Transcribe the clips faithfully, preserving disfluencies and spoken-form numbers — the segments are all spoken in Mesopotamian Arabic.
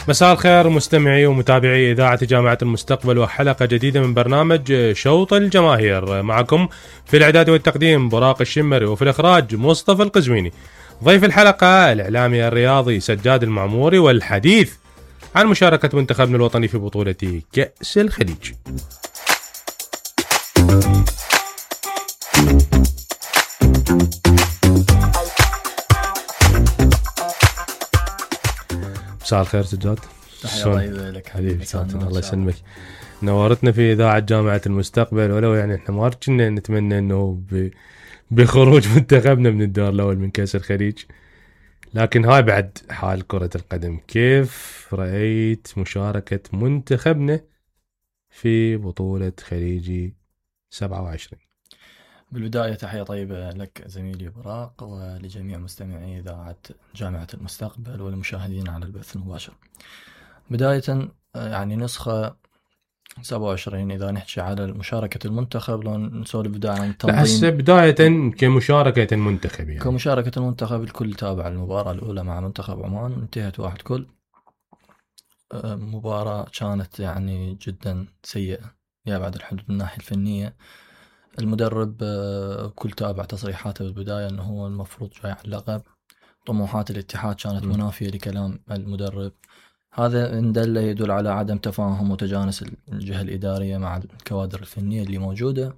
مساء الخير مستمعي ومتابعي إذاعة جامعة المستقبل وحلقة جديدة من برنامج شوط الجماهير. معكم في الإعداد والتقديم براق الشمري، وفي الإخراج مصطفى القزويني. ضيف الحلقة الإعلامي الرياضي سجاد المعموري، والحديث عن مشاركة منتخبنا الوطني في بطولة كأس الخليج. مساء الخير سجاد. تحية طيبة لك حبيبي. الله يسلمك، نورتنا في إذاعة جامعة المستقبل. ولو يعني احنا ما كنا نتمنى انه بخروج منتخبنا من الدور الأول من كأس الخليج، لكن هاي بعد حال كرة القدم. كيف رأيت مشاركة منتخبنا في بطولة خليجي سبعة وعشرين؟ بالبداية تحية طيبة لك زميلي براق ولجميع مستمعي إذاعة جامعة المستقبل والمشاهدين على البث المباشر. بداية يعني نسخة سبعة وعشرين إذا نحكي على مشاركة المنتخب، لو نسولف بداية عن التنظيم. هسه بداية كمشاركة المنتخب، يعني كمشاركة المنتخب الكل تابع المباراة الأولى مع منتخب عمان، انتهت واحد كل. مباراة كانت يعني جدا سيئة يا بعد الحدود من الناحية الفنية. المدرب كل تابع تصريحاته بالبداية أنه هو المفروض جاي على اللقب. طموحات الاتحاد كانت منافية لكلام المدرب. هذا إن دل يدل على عدم تفاهم وتجانس الجهة الإدارية مع الكوادر الفنية اللي موجودة.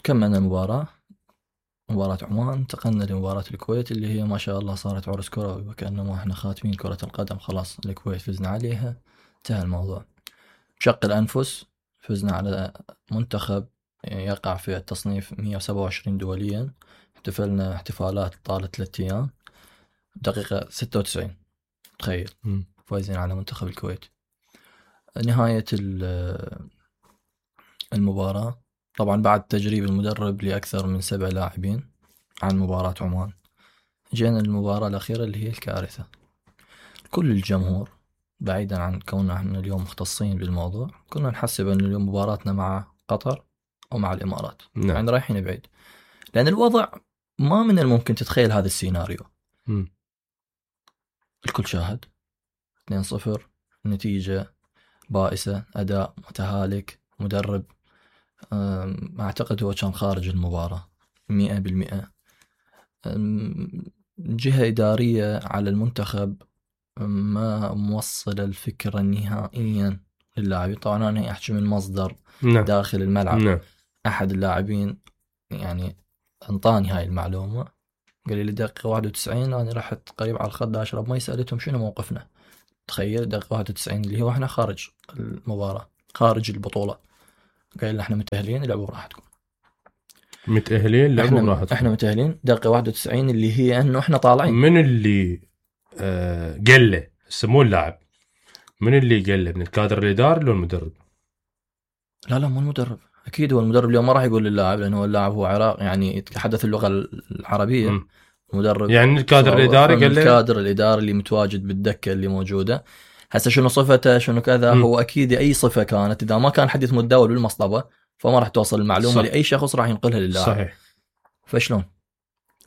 كملنا المباراة، مباراة عمان، انتقلنا لمباراة الكويت اللي هي ما شاء الله صارت عرس كروي، وكأنما احنا خاتمين كرة القدم خلاص. الكويت فزنا عليها، انتهى الموضوع. بشق الأنفس فزنا على منتخب يقع في التصنيف مية وسبعة وعشرين دوليا. احتفلنا احتفالات طالت ثلاثة أيام. دقيقة ستة وتسعين تخيل فايزين على منتخب الكويت. نهاية المباراة طبعا بعد تجريب المدرب لأكثر من سبع لاعبين عن مباراة عمان، جينا المباراة الأخيرة اللي هي الكارثة. كل الجمهور بعيدا عن كوننا احنا اليوم مختصين بالموضوع، كنا نحسب أن اليوم مباراتنا مع قطر أو مع الإمارات، نعم. يعني رايحين بعيد، لأن الوضع ما من الممكن تتخيل هذا السيناريو. م. الكل شاهد اثنين صفر، نتيجة بائسة، أداء متهالك، مدرب أعتقد هو كان خارج المباراة مئة بالمئة. جهة إدارية على المنتخب ما موصل الفكرة نهائيا للاعبين. طبعا أنا أحكي من مصدر نعم. داخل الملعب. نعم. أحد اللاعبين يعني انطاني هاي المعلومة، قال لي دقيقة واحد وتسعين أنا رحت قريب على الخد أشرب مي، سألتهم شنو موقفنا. تخيل دقيقة واحد وتسعين اللي هو احنا خارج المباراة خارج البطولة، قال لنا احنا متأهلين لعبوا براحتكم. متأهلين لعبوا براحتكم. احنا متأهلين دقيقة واحد وتسعين اللي هي انه احنا طالعين. من اللي آه قال له سموه اللاعب؟ من اللي قال له؟ من الكادر الإداري ولا المدرب؟ لا لا مو المدرب، اكيد هو المدرب. اليوم ما راح يقول للاعب لانه اللاعب هو عراق يعني يتحدث اللغة العربية. م. المدرب يعني الكادر الإداري قال له، الكادر الإداري اللي متواجد بالدكة اللي موجودة. هسه شنو صفته شنو كذا، م. هو اكيد اي صفة كانت اذا ما كان حديث متداول بالمصطبة فما راح توصل المعلومة صح. لأي شخص راح ينقلها للاعب. صحيح. فشلون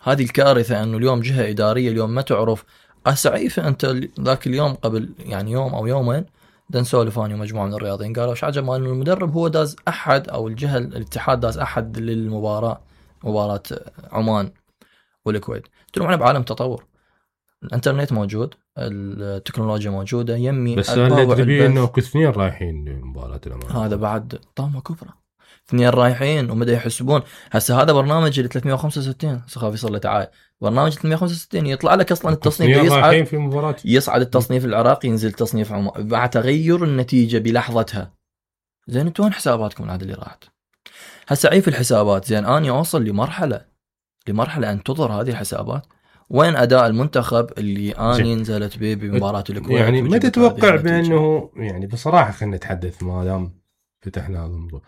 هذه الكارثة انه اليوم جهة إدارية اليوم ما تعرف اسعيفة. انت ذاك اليوم قبل يعني يوم او يومين دان سولفاني ومجموعة من الرياضيين قالوا ايش عجب انه المدرب هو داز احد او الجهة الاتحاد داز احد للمباراة، مباراة عمان والكويت. قلت لهم احنا بعالم تطور، الانترنت موجود، التكنولوجيا موجودة، يمي بس اللي تبي انه كثنين رايحين لمباراة الأمانة. هذا بعد طامة كبرى، اثنين رايحين ومدى يحسبون. هسه هذا برنامج ال ثلاثمية وخمسة وستين سخافي صار له تعال، برنامج ثلاثمية وخمسة وستين يطلع لك اصلا التصنيف يصعد في مباراة، يصعد التصنيف العراقي ينزل تصنيف عمان بعد تغير النتيجة بلحظتها. زين انتوا وين حساباتكم هذا اللي راحت؟ هسه عيف الحسابات. زين اني اوصل لمرحلة لمرحلة ان تضر هذه الحسابات. وين اداء المنتخب اللي اني نزلت به بمباراة الكويت؟ يعني ما تتوقع بانه يعني بصراحة خلينا نتحدث ما دام فتحنا هذا الموضوع،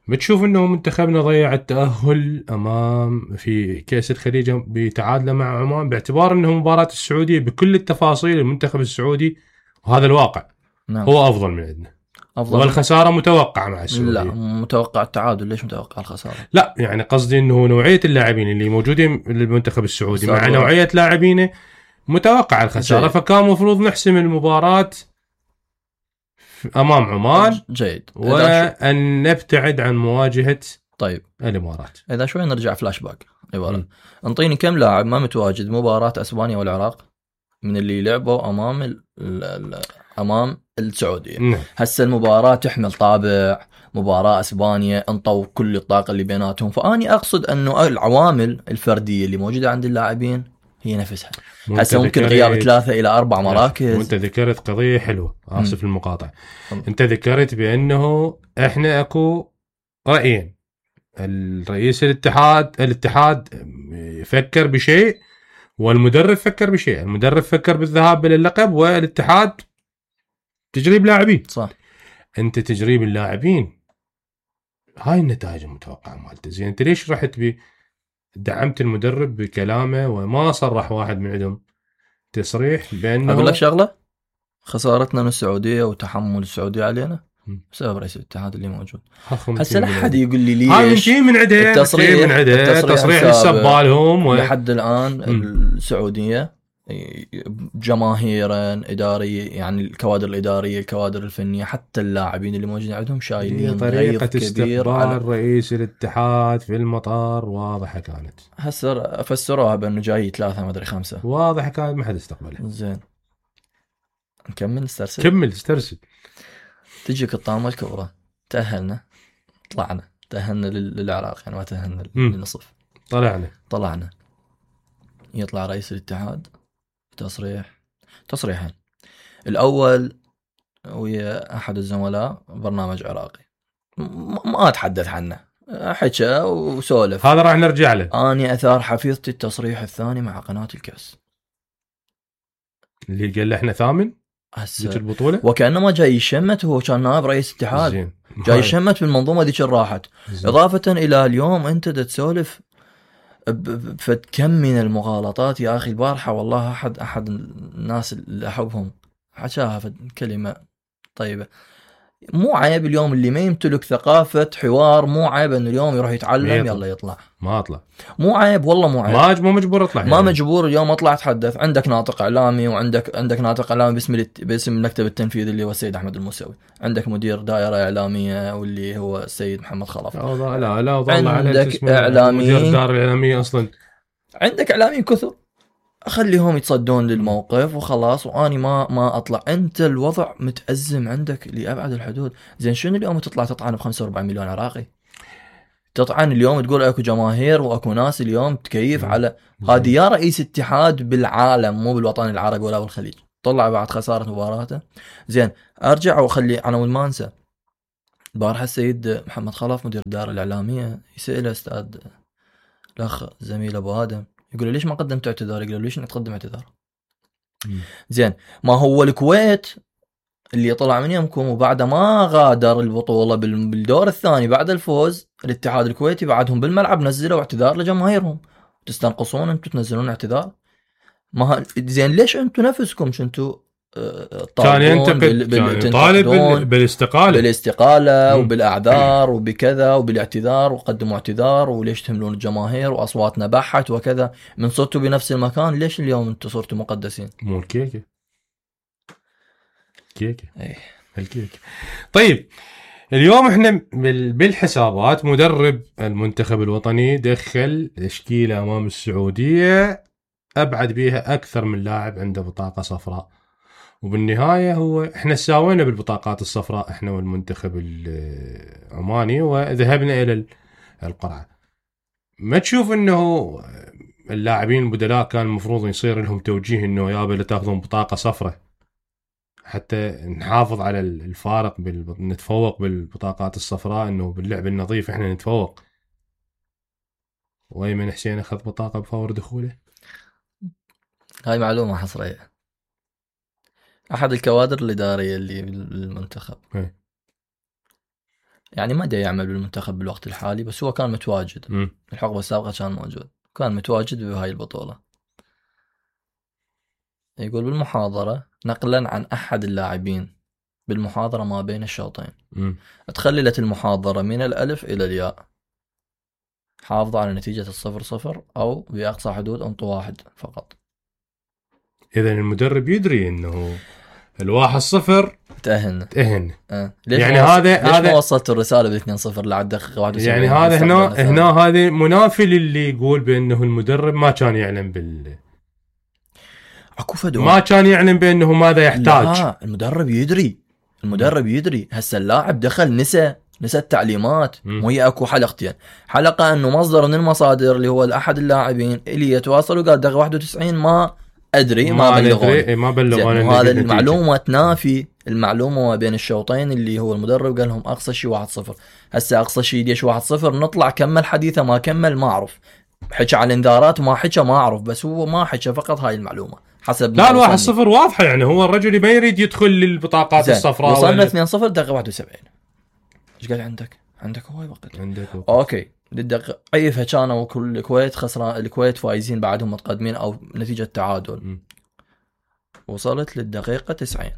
بتشوف انه منتخبنا ضيع التأهل امام في كأس الخليج بتعادله مع عمان، باعتبار انه مباراة السعودية بكل التفاصيل المنتخب السعودي وهذا الواقع نعم. هو افضل من عندنا، أفضل والخسارة متوقعة مع السعودية. لا متوقع التعادل، ليش متوقع الخسارة؟ لا يعني قصدي انه نوعية اللاعبين اللي موجودين للمنتخب السعودي مع نوعية لاعبينه متوقع الخساره، جيد. فكان مفروض نحسم المباراه امام عمان جيد، وان نبتعد عن مواجهه طيب الامارات. اذا شوي نرجع فلاش باك عباره، انطيني كم لاعب ما متواجد مباراه اسبانيا والعراق من اللي لعبوا امام ال ال امام السعوديه. نعم. هسه المباراه تحمل طابع مباراه اسبانيا، انطوا كل الطاقه اللي بيناتهم، فاني اقصد انه العوامل الفرديه اللي موجوده عند اللاعبين هي نفسها. هسه ممكن غياب ثلاثة إلى أربع مراكز. وانت ذكرت قضية حلوة، آسف المقاطعة. انت ذكرت بأنه احنا اكو رأيين، الرئيس الاتحاد الاتحاد فكر بشيء والمدرب فكر بشيء. المدرب فكر بالذهاب للقب والاتحاد تجريب لاعبين. صح. انت تجريب اللاعبين هاي النتائج المتوقعة مالته. زين انت ليش رحت بي دعمت المدرب بكلامه وما صرح واحد من عندهم تصريح بأنه؟ أقول لك شغلة، خسارتنا من السعودية وتحمل السعودية علينا بسبب رئيس الاتحاد اللي موجود. هسه لا حد يقول لي ليش. هاي شيء من عده، التصريح من عده تصريح السبالهم و... لحد الآن م. السعودية جماهيرا إدارية، يعني الكوادر الإدارية الكوادر الفنية حتى اللاعبين اللي موجودين عندهم شايلين طريقة استقبال على رئيس الاتحاد في المطار واضحة كانت. هسه فسروها بأنه جاي ثلاثة ما أدري خمسة، واضحة كانت ما حد استقبله. زين نكمل استرسل. كمل استرسل. تجيك الطامة الكبرى، تأهلنا طلعنا تأهلنا للعراق، يعني ما تأهلنا للنصف، طلعنا طلعنا يطلع رئيس الاتحاد تصريح تصريحين. الأول ويا أحد الزملاء برنامج عراقي ما أتحدث عنه، حكى وسولف، هذا راح نرجع له. أني أثار حفيظتي التصريح الثاني مع قناة الكاس اللي قال له احنا ثامن ذيك البطولة، وكأنما جاي يشمت. هو كان نائب رئيس اتحاد زين. جاي يشمت بالمنظومة ذيك راحت. إضافة إلى اليوم أنت تسولف فكم من المغالطات يا أخي. البارحة والله أحد أحد الناس اللي أحبهم حكاها في كلمة طيبة، مو عيب اليوم اللي ما يمتلك ثقافة حوار، مو عيب أنه اليوم يروح يتعلم يلا يطلع. ما أطلع، مو عيب والله، مو عيب. ما مو مجبور أطلع، ما يعني. مجبور اليوم أطلع أتحدث. عندك ناطق إعلامي وعندك عندك ناطق إعلامي باسم الت... باسم المكتب التنفيذي اللي هو السيد أحمد الموسوي. عندك مدير دائرة إعلامية واللي هو السيد محمد خلف. لا لا لا عندك إعلاميين، مدير الدار الإعلامية أصلا. عندك إعلاميين كثر، أخليهم يتصدون للموقف وخلاص، وأني ما ما أطلع. أنت الوضع متأزم عندك لأبعد الحدود. زين شنو اليوم تطلع تطعن بخمسة وأربعين مليون عراقي؟ تطعن اليوم تقول أكو جماهير وأكو ناس اليوم تكيف على هذه. يا رئيس اتحاد بالعالم مو بالوطن العربي ولا بالخليج، طلع بعد خسارة مباراته. زين أرجع وأخلي عناوين ما أنسى. البارحة السيد محمد خلف مدير الدار الإعلامية يسأل أستاذ الأخ زميل أبو آدم، يقول ليش ما قدمت اعتذار؟ يقول ليش نقدم اعتذار؟ زين ما هو الكويت اللي طلع من يمكم وبعد ما غادر البطولة بالدور الثاني بعد الفوز، الاتحاد الكويتي بعدهم بالملعب نزلوا اعتذار لجماهيرهم. تستنقصون انتم تنزلون اعتذار؟ ما زين ليش انتم نفسكم شنتوا كان ينتقد بال... طالب بال... بالاستقالة بالاستقالة وبالأعذار وبكذا وبالاعتذار، وقدموا اعتذار وليش تهملون الجماهير وأصواتنا بحت وكذا. من صرتوا بنفس المكان ليش اليوم انتم صرتوا مقدسين؟ مو الكيكة كيكة ايه الكيكة. طيب اليوم احنا بالحسابات مدرب المنتخب الوطني دخل تشكيلة أمام السعودية أبعد بيها أكثر من لاعب عنده بطاقة صفراء، وبالنهاية هو احنا ساوينا بالبطاقات الصفراء احنا والمنتخب العماني وذهبنا إلى القرعة. ما تشوف انه اللاعبين البدلاء كان المفروض يصير لهم توجيه انه يابا لا تاخذون بطاقة صفراء حتى نحافظ على الفارق بال... نتفوق بالبطاقات الصفراء، انه باللعب النظيف احنا نتفوق. وايمن حسين اخذ بطاقة بفور دخوله. هاي معلومة حصرية، احد الكوادر الادارية اللي بالمنتخب هي. يعني ما دا يعمل بالمنتخب بالوقت الحالي، بس هو كان متواجد. م. الحقبة السابقة كان موجود، كان متواجد بهاي البطولة. يقول بالمحاضرة نقلا عن أحد اللاعبين بالمحاضرة ما بين الشوطين، تخللت المحاضرة من الألف إلى الياء، حافظوا على نتيجة الصفر صفر أو بأقصى حدود أنطوا واحد فقط. اذا المدرب يدري انه الواحد صفر تأهلنا تأهلنا. أه. ليش يعني ما هذا ليش هذا ما وصلت الرساله باثنين صفر لعد دقيقه واحد وسبعين؟ يعني هذا هنا هنا هذا منافي للي يقول بانه المدرب ما كان يعلم بال اكو فدوى ما كان يعلم بانه ماذا يحتاج. لا المدرب يدري المدرب يدري. هسه اللاعب دخل نسى نسى التعليمات. وهي اكو حلقتين، حلقه انه مصدر من المصادر اللي هو احد اللاعبين اللي يتواصل وقال دقيقه واحد وتسعين ما ادري ما, ما بلغوني ما بلغوني. هذا المعلومه تنافي المعلومه ما بين الشوطين اللي هو المدرب قال لهم اقصى شيء واحد صفر. هسه اقصى شيء ليش واحد صفر؟ نطلع كمل حديثه ما كمل ما اعرف، حكى على الانذارات ما حكى ما اعرف، بس هو ما حكى فقط هاي المعلومه حسب. لا الواحد صفر واضحه، يعني هو الرجل ما يريد يدخل للبطاقات الصفراء. وصلنا اثنين صفر دقيقه واحد وسبعين. ايش قال عندك؟ عندك هواي وقت. عندك وقت. اوكي للدقيقه عيفها كانوا كل الكويت خسران، الكويت فايزين بعدهم متقدمين او نتيجه تعادل. م. وصلت للدقيقه تسعين،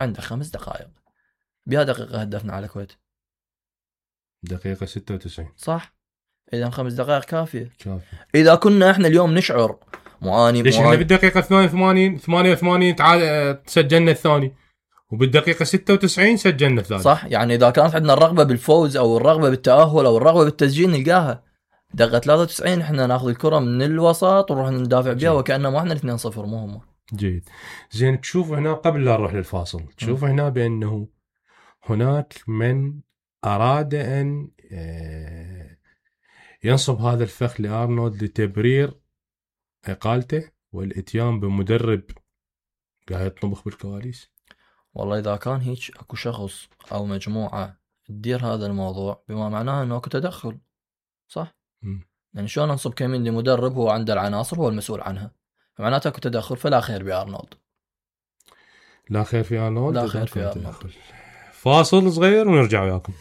عندك خمس دقائق، بها دقيقه هدفنا على الكويت دقيقه ستة وتسعين صح. اذا خمس دقائق كافيه كافي. اذا كنا احنا اليوم نشعر معاني ليش احنا بالدقيقه ثمانية وثمانين ثمانية وثمانين تعال سجلنا الثاني، وبالدقيقه ستة وتسعين سجلنا الثالث صح. يعني اذا كانت عندنا الرغبه بالفوز او الرغبه بالتاهل او الرغبه بالتسجيل نلقاها. دقيقه ثلاثة وتسعين احنا ناخذ الكره من الوسط ونروح ندافع بها وكانه ما احنا اثنين صفر مو هم. جيد. زين تشوف هنا قبل لا نروح للفاصل، تشوف هنا بانه هناك من اراد ان ينصب هذا الفخ لارنولد لتبرير اقالته والاتيان بمدرب قاعد يطبخ بالكواليس. والله اذا كان هيك اكو شخص او مجموعه تدير هذا الموضوع بما معناه انه اكو تدخل صح. م. يعني شلون ننصب كمين لمدرب هو عنده العناصر هو المسؤول عنها، معناته اكو تدخل. فلا خير بارنولد، لا خير في ارنولد، لا خير في ارنولد. فاصل صغير ونرجع وياكم.